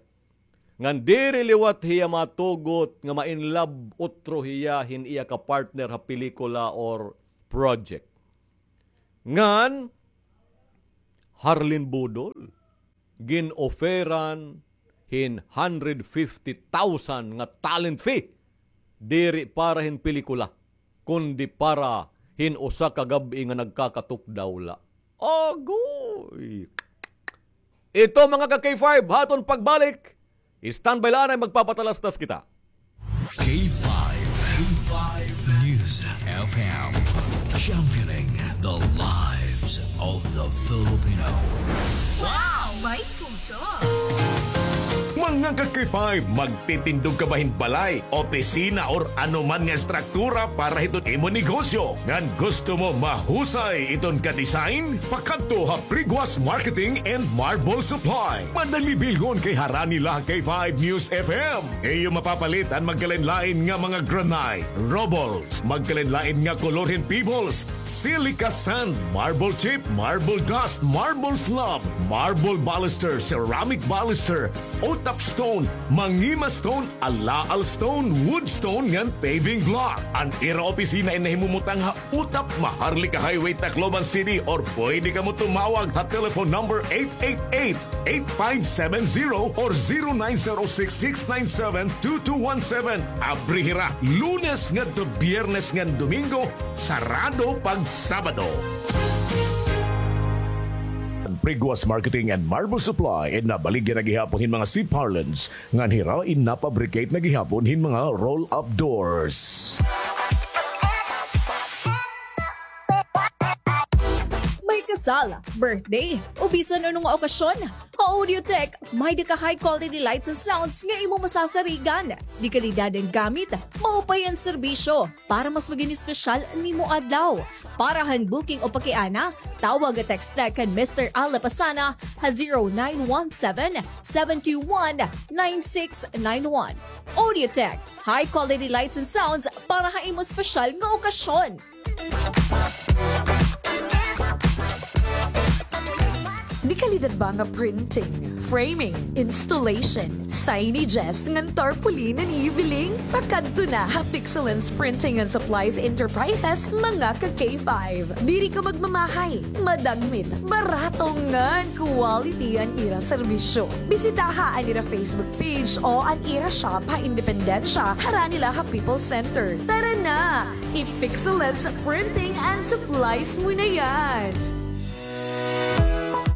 Ngan diri liwat hiya matugot nga ma-in love utro hiya hin iya ka-partner ha pelikula or project. Ngan Harlene Budol, gin-offeran hin hundred fifty thousand nga talent fee, diri para hin pelikula, kundi para hin usa ka gab-i nga nagkakatukdaw la. Agoy! Ito, mga ka-K five, ha aton pagbalik, standby la anay, magpapatalastas kita. K five, K five News F M, championing the lives of the Filipino. Wow! May puso! Mga ka-K five, magtitindog ka ba hin balay, opisina, or ano man nga estruktura para hiton imo negosyo? Ngan gusto mo mahusay iton ka-design? Pakadto ha Priguas Marketing and Marble Supply. Madali bilhon kay harani la ha K five News F M. Iyo mapapalit an magkalain-lain nga mga granite, rubbles, magkalain-lain nga kolor hin pebbles, silica sand, marble chip, marble dust, marble slab, marble baluster, ceramic baluster, utap stone, mangima stone, alaal stone, wood stone, ngan paving block. An ira opisina in nahimumutang ha Utap, Maharlika Highway, Tacloban City, or pwede kamo tumawag ha telephone number eight eight eight, eight five seven zero or zero nine zero six, six nine seven, two two one seven. Abri hira Lunes ngadto Biyernes ngan Domingo, sarado pag Sabado. Priguas Marketing and Marble Supply, in nabaligya na gihapon hin mga C-parlance, ngan hira in napabricate na gihapon hin mga roll-up doors. May kasal, birthday, o bisan ano nga okasyon, ha Audiotech, may-ada ka high quality lights and sounds nga imo masasarigan. Dekalidad an gamit, maupay an serbisyo. Para mas maging espesyal an imo adlaw. Para han booking o pakiana, tawag o text la kan Mister Al Lapasana ha zero nine one seven, seven two one, nine six nine one. Audiotech, high quality lights and sounds para ha imo espesyal nga okasyon. Dekalidad ba nga printing, framing, installation, signages, ngan tarpaulin an iyo biling? Pakadto na ha Pixelens Printing and Supplies Enterprises, mga ka-K five. Diri ka magmamahay, madagmit, barato ngan quality an ira serbisyo. Bisitaha an ira Facebook page o an ira shop ha Independencia, harani la ha People's Center. Tara na! I-Pixelens Printing and Supplies mo na yan!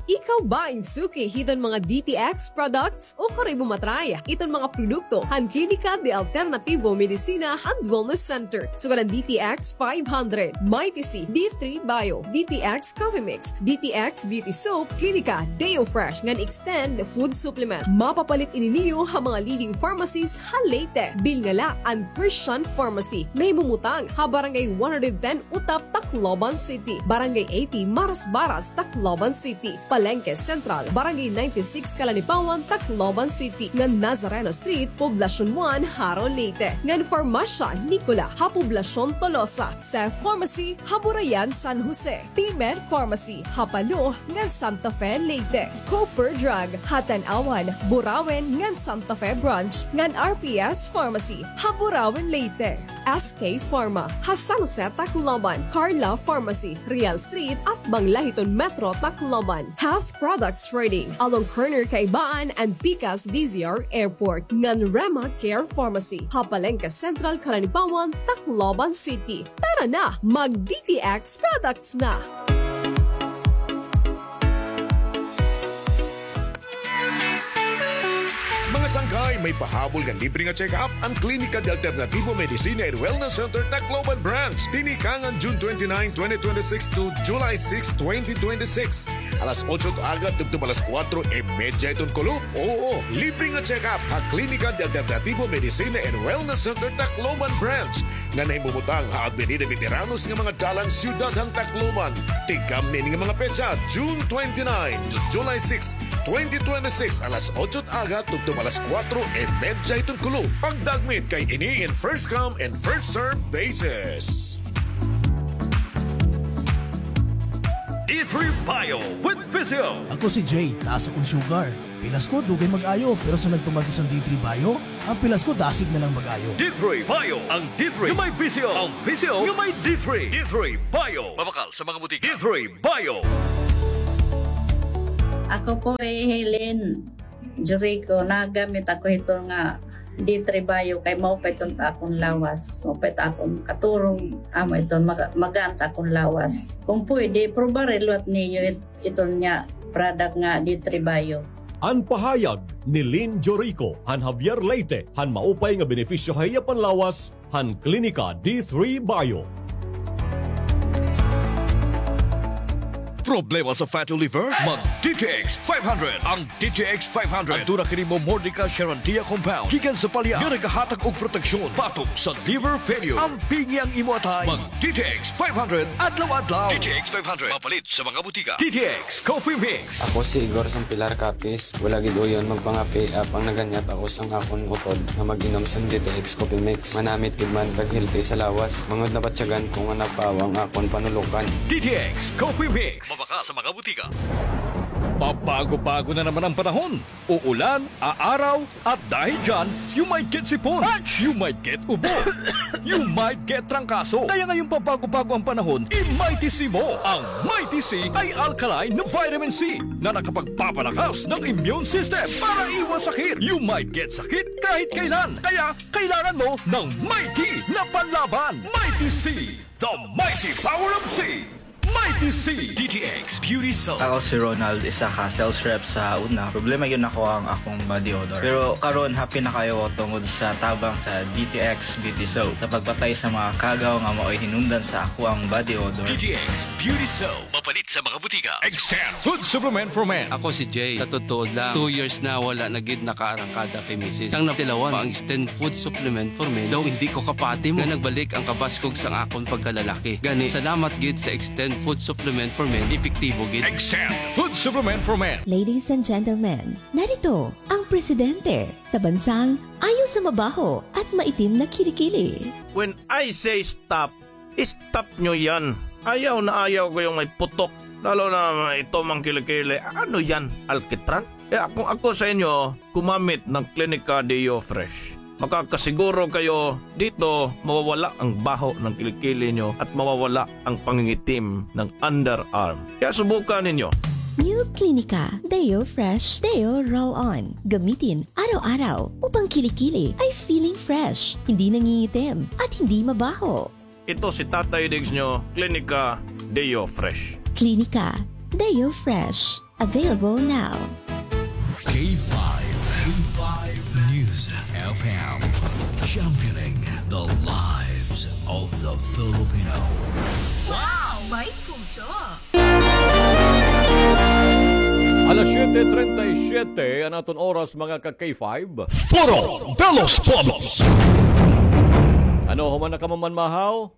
Ikaw ba in suki hiton mga D T X products? Ukon imo ma-try iton mga produkto han Klinika de Alternativo Medicina and Wellness Center, sugad an D T X five hundred, Mighty C, D three Bio, D T X Coffee Mix, D T X Beauty Soap, Klinika Deo Fresh ngan Extend Food Supplement. Mapapalit ini niyo ha mga leading pharmacies ha Leyte. Bilnga la an Christian Pharmacy, nahimumutang ha Barangay one hundred ten Utap, Tacloban City, Barangay eighty Marasbaras, Tacloban City, Palengke Central, Barangay ninety-six Calanipawan, Tacloban City, ngan Nazareno Street, Poblacion one, Jaro, Leyte, ngan Farmasya Nicola ha Poblacion Tolosa, Seth Pharmacy ha Burayan, San Jose, P-Med Pharmacy ha Palo ngan Santa Fe, Leyte, Cooper Drug ha Tanauan, Burauen ngan Santa Fe Branch, ngan R P S Pharmacy ha Burauen, Leyte. S K Pharma ha San Jose, Tacloban, Carla Pharmacy, Real Street, atbang la hiton Metro Tacloban, Health Products Trading, along corner Kaibaan and Pikas D Z R Airport, ngan Rema Care Pharmacy ha Palengke Central, Calanipawan, Tacloban City. Tara na, mag-D T X products na! Mga sangkay, may pahabol nga libre nga check-up an Klinika de Alternativo Medicina and Wellness Center, Tacloban Branch. Tinikangan June twenty-nine, twenty twenty-six to July six, twenty twenty-six. Alas otso it aga tubtob alas kuwatro y medya iton kulop. Oo, libre nga check-up ha Klinika de Alternativo Medicina and Wellness Center, Tacloban Branch, nga nahimumutang ha Avenida Veteranos nga mga dalan, Siyudad han Tacloban. Tigamni ini nga mga petsa, June twenty-nine to July six, twenty twenty-six, alas otso it aga tubtob alas Kuwatro e medya iton kulop. Pagdagmit kay ini in first come and first serve basis. D three Bio with Physio. Ako si Jay, taas akon sugar. Pilas ko, dugay mag-ayo, pero sa nagtumag ko sa D three Bio, ang pilas ko, dasig na lang mag-ayo. D three Bio, ang D three nga may Physio, ang Physio nga may D three. D three Bio. Mabakal sa mga butika. D three Bio. Ako po ay Helen Jurico, nagamit ako hito nga D three Bio kay maupay iton ta akon lawas. Maupay ta akon katurog, amo iton maga-, magaan ta akon lawas. Kung pwede, probari liwat niyo it-, iton nga product nga D three Bio. An pahayag ni Lynn Jorico han Javier Leyte han maupay nga benepisyo ha iya panlawas han Klinika D three Bio. Problema sa fatty liver? Mag D T X five hundred. Ang D T X five hundred aduna kini momordica charantia compound gikan sa palya nga nagahatag og proteksyon batok sa liver failure. Ampingi ang imo atay. Mag D T X five hundred adlaw-adlaw. D T X five hundred mapalit sa mga butika. D T X Coffee Mix. Ako si Igor sang Pilar Capiz. Wala gid uyon magpangape, apang naganyat ako sang akon utod nga mag-inom sang D T X Coffee Mix. Manamit gid man kag healthy sa lawas. Mangud nabatyagan ko nga napawa ang akon panulokan. D T X Coffee Mix. Mabakal sa mga butika. Pabago-bago na naman ang panahon. Uulan, aaraw, at dahil dyan, you might get sipon. You might get ubo. You might get trangkaso. Kaya ngayong pabago-bago ang panahon, i-Mighty C mo. Ang Mighty C ay alkaline na vitamin C na nakapagpapalakas ng immune system para iwas sakit. You might get sakit kahit kailan. Kaya kailangan mo ng Mighty na panlaban. Mighty C, the mighty power of C. Mighty C. D T X Beauty Soap. Ako si Ronald, isa ka sales rep sa una. Problema gyud nako ang akong body odor. Pero karon, happy na kayo tungod sa tabang sa D T X Beauty Soap sa pagpatay sa mga kagaw nga mao'y hinungdan sa ako ang body odor. D T X Beauty Soap. Mapalit sa mga butika. Extend Food Supplement for Men. Ako si Jay. Sa totoo lang, two years na wala na gid nakaarangkada kay misis. Sang natilawan pa ang Extend Food Supplement for Men, daw hindi ko kapati mo nga nagbalik ang kabaskog sang akon pagkalalaki. Gani, salamat gid sa Extend Food Supplement for Men, epektibo gid. Extend Food Supplement for Men. Ladies and gentlemen, narito ang presidente sa bansang ayaw sa mabaho at maitim na kilikili. When I say stop, stop nyo yan. Ayaw na ayaw ko yung may putok. Lalo na ito mang kilikili. Ano yan? Alkitran? Kaya kung ako sa inyo, gumamit ng Clinica Deo Fresh. Makakasiguro kayo dito mawawala ang baho ng kilikili nyo at mawawala ang pangingitim ng underarm. Kaya subukan ninyo. New Clinica Deo Fresh Deo Roll On. Gamitin araw-araw upang kilikili ay feeling fresh, hindi nangingitim, at hindi mabaho. Ito si Tatay Diggs nyo, Clinica Deo Fresh. Clinica Deo Fresh. Available now. K five, K five News F M, championing the lives of the Filipino. Wow! May puso! Alas siyete treinta y siete an aton oras, mga ka K five. Puro Belos Pobos! Ano, human na kamo manmahaw?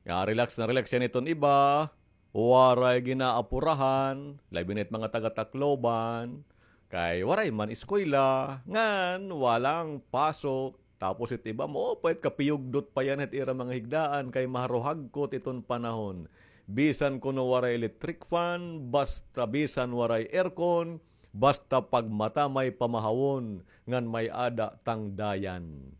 Ya, relax na relax yan iton iba. Waray ginaapurahan, labi na it mga taga-Tacloban. Kay waray man eskwela, ngan walang pasok. Tapos it iba, maupay it kapiyugdot pa yan it ira mga higdaan kay maharuhagkot iton panahon. Bisan kuno waray electric fan, basta bisan waray aircon, basta pagmata may pamahawon, ngan may-ada tangdayan.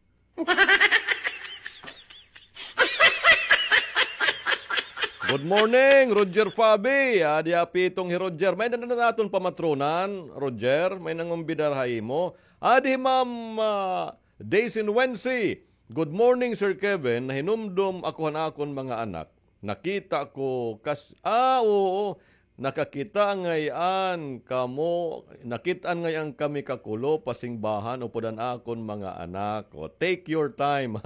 Good morning, Roger Fabi. Adi ha pitong hi Roger. May na, na, naton pamatronan, Roger. May nangumbidar ha imo. Adi hi Ma'am, ah, Daisy Wensi. Good morning, Sir Kevin. Nahinumdom ako han akon mga anak. Nakita ko kas-, ah, oo. Nakakita ngay-an kamo, nakit-an ngay-an kami kakulo, pasingbahan, upod an akon mga anak. O, take your time.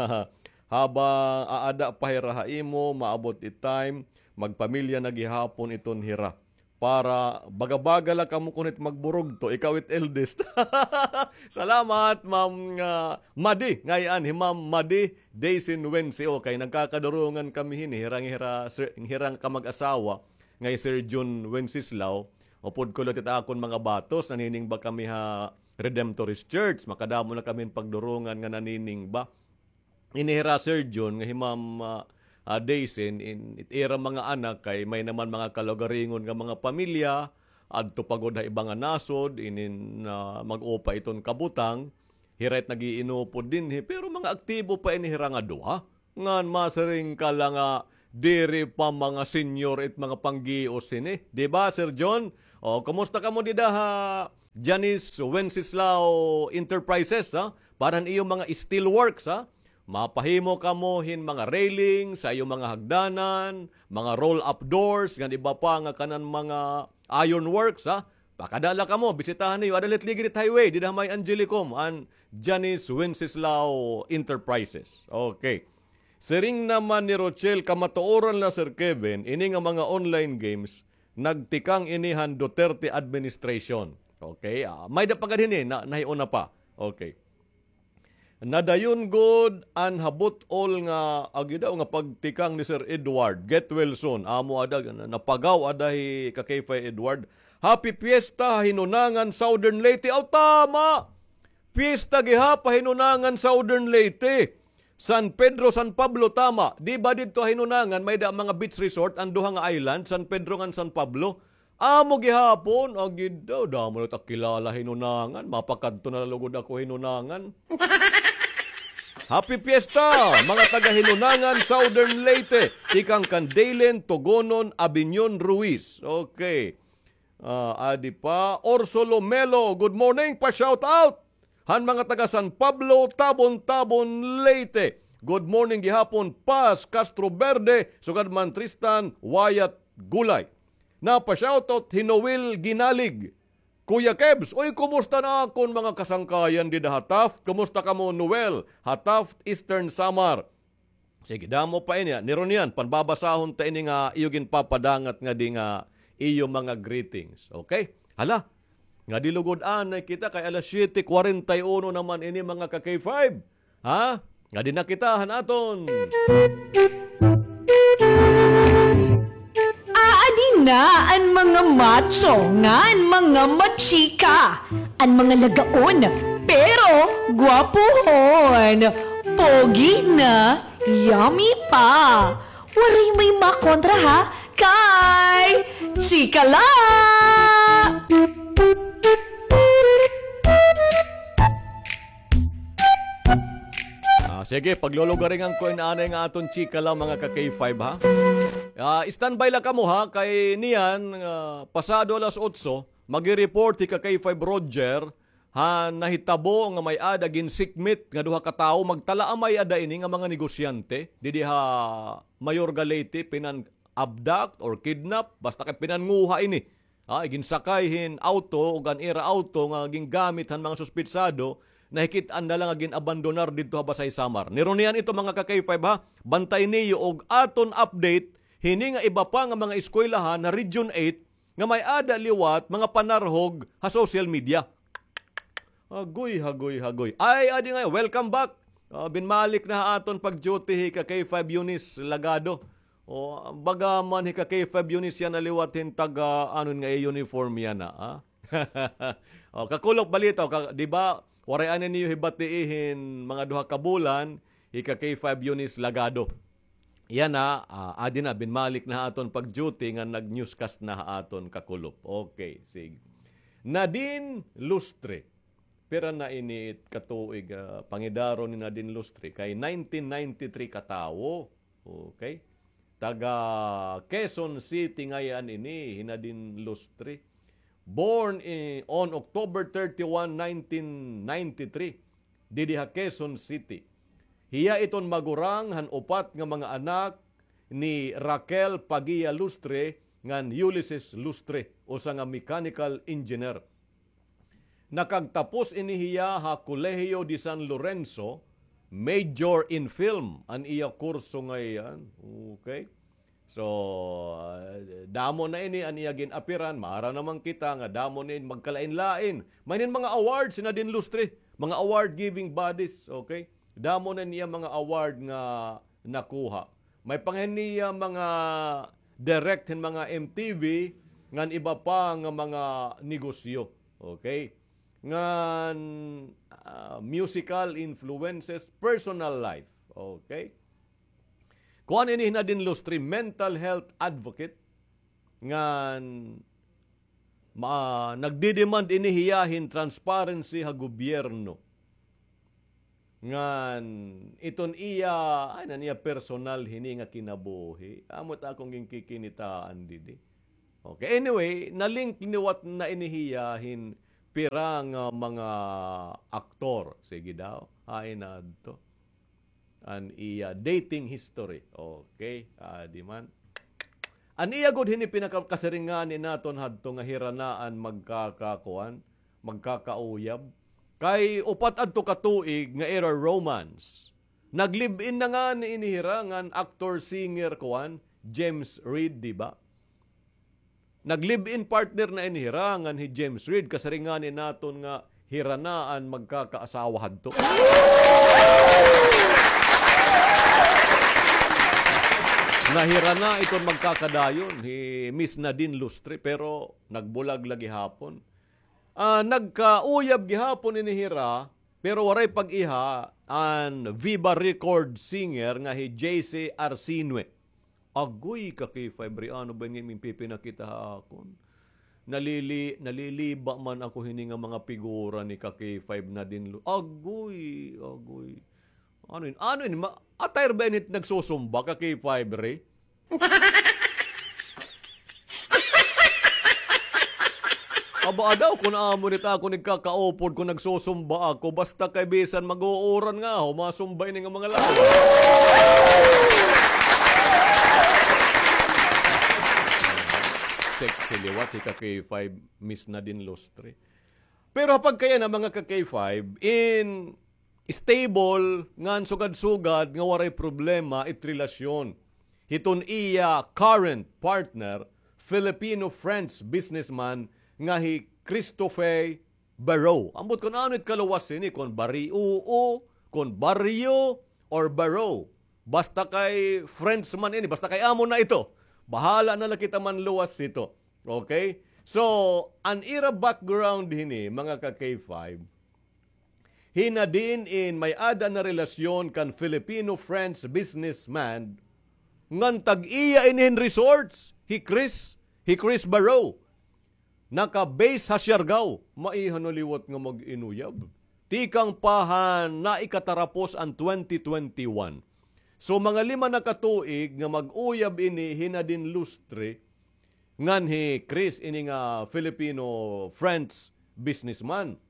Habang aada pa hira ha imo, maabot it time, magpamilya na gihapon iton hira. Para baga-baga la kamo kun it magburugto, ikaw it eldest. Salamat, Ma'am, ah, Madi. Ngay-an, hi Ma'am Madi Daisy Wensi. Okay, nagkakadurungan kami hini, hirang, hira, sir, hirang kamag-asawa. Ngay Sir Jun Wenceslao, upod ko liwat it akon mga batos, naniningba kami ha Redemptorist Church. Makadamo na kami pagdurungan nga naniningba. Ini hira, Sir John, nga hi Ma'am, ah, ah, Daisy, in, it ira mga anak kay may naman mga kalugaringon nga mga pamilya, adto pa gud ha iba nga nasod, inin, ah, mag-upa iton kabutang, hira it nag-iinupod dinhi, pero mga aktibo pa ini hira nga duha. Ngan masiring ka la nga diri pa mga senior it mga panggios hini. Di ba, Sir John? O, kumusta kamo dida ha Janice Wenceslao Enterprises, ha? Para han iyo mga steel works, ha? Mapahimo kamo hin mga railing sa iyo mga hagdanan, mga roll-up doors, ngan iba pa nga kanan mga iron works, ha? Pakada la kamo, bisitahan niyo. Ada la it ligid it highway, dida ha may Angelicum, an Janice Wenceslao Enterprises. Okay. Siring naman ni Rochelle, kamatuoran la, Sir Kevin, ini nga mga online games, nagtikang ini han Duterte administration. Okay, ah, may-ada pa gad hini, na, nahiuna pa. Okay. Nadayon gud an habot-ol nga, agi daw, nga pagtikang ni Sir Edward, get well soon. Amo ada, na-, napagaw ada hi Kakayfay Edward. Happy Fiesta, Hinunangan, Southern Leyte. Aw, tama! Fiesta gihap ha Hinunangan, Southern Leyte. San Pedro, San Pablo, tama. Di ba didto ha Hinunangan, may-ada mga beach resort, an duha nga island, San Pedro ngan San Pablo? Amo gihapon, agi daw, damo na it ak kilala Hinunangan, mapakadto na la lugod ako Hinunangan. Happy Fiesta, mga taga Hinunangan, Southern Leyte, tikang kan Dalen Togonon Abinion Ruiz. Okay. Ah, adi pa, Orso Lomelo, good morning, pa-shout out han mga taga San Pablo, Tabon-Tabon, Leyte. Good morning gihapon, Paz Castro Verde, sugad man Tristan Wyatt Gulay. Napa-shoutout hi Noel Ginalig. Kuya Kebs, uy, kumusta na akon mga kasangkayan dida ha Taft? Kumusta kamo, Noel, ha Taft, Eastern Samar? Sige, damo pa ini, ah. Ni Ronian, panbabasahon ta ini nga iyo ginpapadangat ngadi nga iyo mga greetings. Okay? Hala, ngadi lugod anay kita kay alas siyete kwarenta y uno naman ini, mga ka-K five. Ha? Ngadi na kita han aton. Aadi na an mga macho ngan mga machika, an mga lagaon, pero gwapohon, pogi na, yummy pa. Waray may makontra ha, kay chika la! Ah, sige, paglulugaringan ko ini anay nga aton chika la, mga ka-K five, ha? Ah, standby la kamo, ha, kay niyan, ah, pasado alas otso, magi-report hi ka-K five Roger han nahitabo nga may-ada ginsikmit nga duha ka tawo, magtala a may-ada ini nga mga negosyante didi ha Mayorga, Leyte, pinan-abduct or kidnap, basta kay pinannguha ini. Ah, ginsakay hin awto ug an ira awto nga gingamit han mga suspetsado, nahikit-an na la nga gin-abandonar didto ha Basay, Samar. Ni Ronian ito, mga ka-K five, ha. Bantay niyo og aton update hini nga iba pa nga mga eskwelahan ha Region eight nga may-ada liwat mga panarhog ha social media. Hagoy, hagoy, hagoy. Ay, adi nga, welcome back. Ah, binmalik na ha aton pag-duty hi ka-K five Eunice Lagado. O, baga man hi ka-K five Eunice yana liwat hin taga, ano nga, uniform yana, ha? O, kakulop balita, o, ka-, di ba, waray anay niyo hibatii hin mga duha ka bulan, hi ka-K five Eunice Lagado. Yana, ah, adi na, binmalik na ha aton pag-duty nga nag-newscast na ha aton kakulop. Okay, sige. Nadine Lustre. Pira na ini ka tuig, ah, pangidaron ni Nadine Lustre? Kay nineteen ninety-three ka tawo. Okay. Taga Quezon City ngay-an ini, hi Nadine Lustre. Born in, on October thirty-one, nineteen ninety-three, didi ha Quezon City. Hiya iton magurang han upat nga mga anak ni Raquel Paguia Lustre ngan Ulysses Lustre, usa nga mechanical engineer. Nakagtapos ini hiya ha Colegio de San Lorenzo, major in film an iya kurso ngay-an. Okay. So, ah, damo na ini an iya gin-apiran. Maaram naman kita nga damo na ini, magkalain-lain. May nin mga awards hi Nadine Lustre, mga award-giving bodies, okay? Damo na niya mga award nga nakuha. May pa nga niya mga direct hin mga M T V, ngan iba pa nga mga negosyo. Okay? ngan, ah, musical influences, personal life. Okay? Kuan ini hi Nadine Lustre, mental health advocate, ngan ma-, nagdi-demand ini hiya hin transparency ha gobyerno. Ngan iton iya, ay, nan iya personal hini nga kinabuhi. Amo it akon ginkikinitaan didi. Okay, anyway, na-link liwat na ini hiya hin pira nga mga aktor. Sige daw, hain na adto an iya dating history. Okay, adi man. An iya gud hini pinakakasiring ngani naton hadto nga hira na an magkakakuan, magkakauyab. Kay upat adto ka tuig nga ira romance. Nag-live-in na ngani ini hira ngan actor, singer, kuan, James Reid, di ba? Nag-live-in partner na ini hira ngan hi James Reid, kasiring ngani naton nga hira na an magkakaasawa hadto. Nga hira na iton magkakadayon, hi Miss Nadine Lustre, pero nagbulag la gihapon. Ah, nagkauyab gihapon ini hira, pero waray pag-iha an Viva Record singer nga hi J C Arsinue. Agoy, ka K five Ray, ano ba ini nga imo pipinakita ha akon? Nalili-, naliliba man ako hini nga mga figura ni ka K five Nadine Lu-, agoy, agoy. Ano ini? Ano ini? Ma-, attire ba ini nagsusumba, ka K five Ray? Aba, adaw, kun amo nit akon igkakaupod kun nagsusumba ako, basta kay bisan mag-uuran nga ako, masumba ini nga mga lawas. Sexy liwat hi ka K five, Miss Nadine Lustre. Pero ha pagkayana, mga ka K five, in stable ngan sugad-sugad nga waray problema it relasyon hiton iya current partner, Filipino-French businessman nga hi Christophe Barreau. Ambot kun ano it kaluwas hini, kun Barrio, kun Barrio, or Barreau. Basta kay French man ini, basta kay amo na ito. Bahala na la kita manluwas hito. Okay? So, an ira background hini, mga ka K five, hi Nadine in may-ada na relasyon kan Filipino-French businessman ngan tag-iya ini hin resorts, hi Chris, hi Chris Barreau. Naka-base ha Siargao, maiha na liwat nga mag-inuyab. Tikang pa han naikatarapos an twenty twenty-one. So, mga lima na ka tuig nga mag-uyab ini hi Nadine Lustre, ngan hi Chris, ini nga Filipino-French businessman.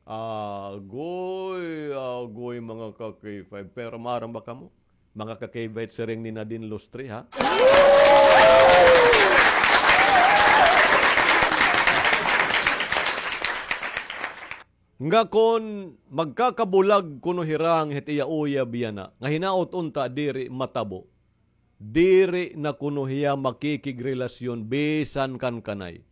Agoy, agoy, mga ka K five. Pero maaram ba kamo? Mga ka K five, siring ni Nadine Lustre, ha? Nga kun magkakabulag kuno hira nga hit iya uyab yana, nga hinaot unta diri matabo, diri na kuno hiya makikigrelasyon bisan kan kanay.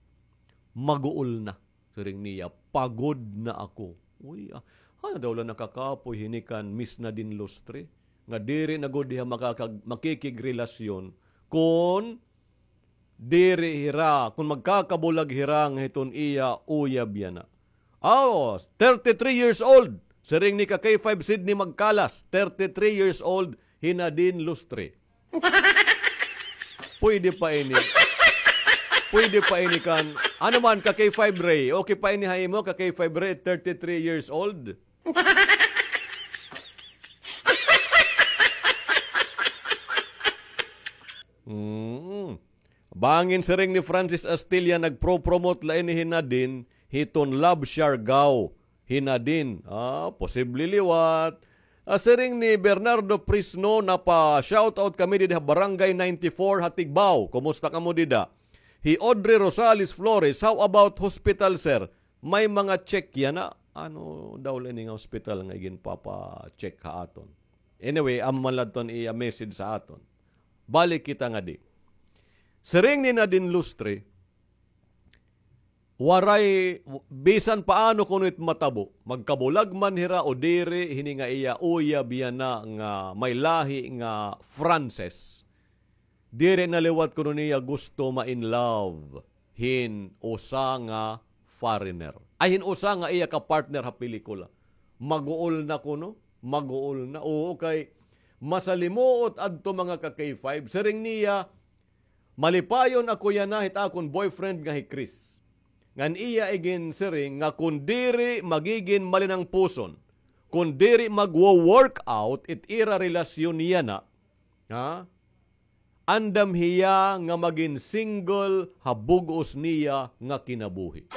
Maguol na, siring niya, pagod na ako. Uy, ah, ano daw la nakakapoy hini kan Miss Nadine Lustre? Nga diri na gud hiya makakag-, makikigrelasyon kun diri hira, kun magkakabulag hira nga hiton iya uyab yana. Aw, thirty-three years old. Siring ni ka K five Sydney Magkalas, thirty-three years old, hi Nadine Lustre. Pwede pa ini. Pwede pa ini kan, ano man, ka K five Ray, okay pa ini ha imo, ka K five Ray, thirty-three years old? Mm. Bangin siring ni Francis Astilla, nagpro-promote la ini hi Nadine hiton Love Siargao hi Nadine. Ah, posible liwat. Ah, siring ni Bernardo Prisno, napa-shoutout kami dida ha Barangay ninety-four ha Tigbao. Kumusta kamo dida? Hi Audrey Rosales Flores, how about hospital, sir? May mga check yana. Ano daw la ini nga hospital nga iginpapa-check ha aton? Anyway, amo man la adton iya message sa aton. Balik kita ngadi. Siring ni Nadine Lustre, waray, bisan paano kuno it matabo, magkabulag man hira o diri, hini nga iya uyab yana nga may lahi nga Frances. Diri na liwat kuno niya gusto ma-in love hin usa nga foreigner. Ay hin usa nga iya ka partner ha pelikula. Maguol na kuno, maguol na. Oo, kay masalimuot adto, mga ka K five. Siring niya, malipayon ako yana hit akon boyfriend nga hi Chris. Ngan iya iginsiring nga kon diri magigin malinangpuson, kon diri magwo-work out it ira relasyon yana, ha? Andam hiya nga magin single ha bug-os niya nga kinabuhi.